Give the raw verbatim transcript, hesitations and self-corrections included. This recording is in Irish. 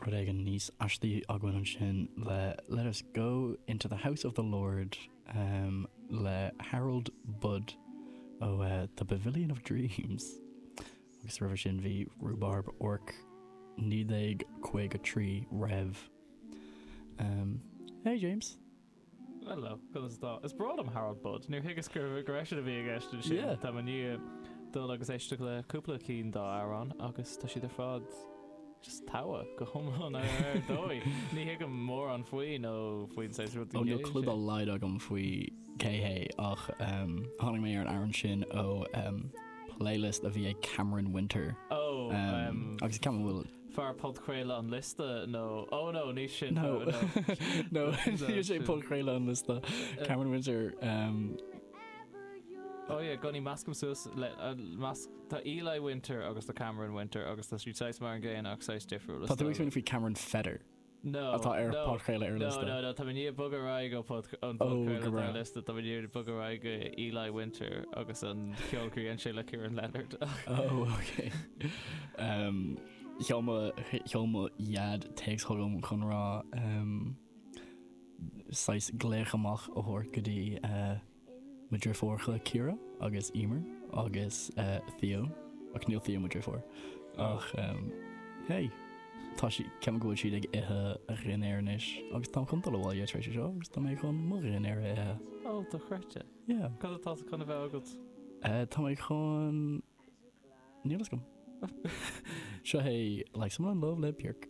rud éigin níos aistí againn ansin le Let Us Go into the House of the Lord um, le Harold Budd ó uh, The Pavilion of Dreams. Agus roimhe sin bhí Rhubarb Orc naoi déag caoga trí Rev. Um, hey James. Hello, conas atá. Is breá liom Harold Budd. Níor thuigeas gur gur eisean a bhí i gceist ansin. Yeah. Tá mé i ndiaidh dul agus éisteacht le cúpla cinn dá amhrán agus tá siad ar fad just togha go hiomlán ar ar dóigh. Ní thuigim mórán faoi nó faoin saghas rud Ó níl clue dá laghad agam faoi cé hé ach um, tháinig mé ar an amhrán sin ó um, playlist a bhí ag Cameron Winter. Ó, Um, um, agus ceapaim bhfuil fear podchraoladh an liosta nó oh no ní sin No. no. no No, ní sé sin- podchraoladh an liosta Cameron Winter um, Oh yeah, gunnaí meascaim suas le uh, meas tá Eli Winter agus tá Cameron Winter agus tá siad saghas mar an gcéanna ach saghas difriúil. Tá tú ag smaoineamh faoi Cameron Feder No. atá ar no. podchraoladh ar No, liosta. no, no, tá mé ag bogadh ar aghaidh ó pod an Oh, go podchraoladh ar breá. liosta, tá mé ag bogadh ar aghaidh go Eli Winter agus an ceol gur dhein sé le Kieran Leonard. Oh, okay. Um, Sheol mo sheol mo dhaid téacs chugam chun rá um, saghas glaoch amach a thabhairt go dtí uh, mo dheirfiúracha Ciara agus Emer agus uh, Theo ach níl Theo mo dheirfiúr ach um, hey tá sí ceapaim go bhfuil siad ag ithe a dhinnéar anois agus tá chun dul abhaile tar éis seo agus tá mé chun mo dhinnéar a ithe. Ó dochreidte. Yeah. Cad atá chun a bheith agat? Uh, tá mé chun níl a fhios agam. Seo é like someone in love le Björk.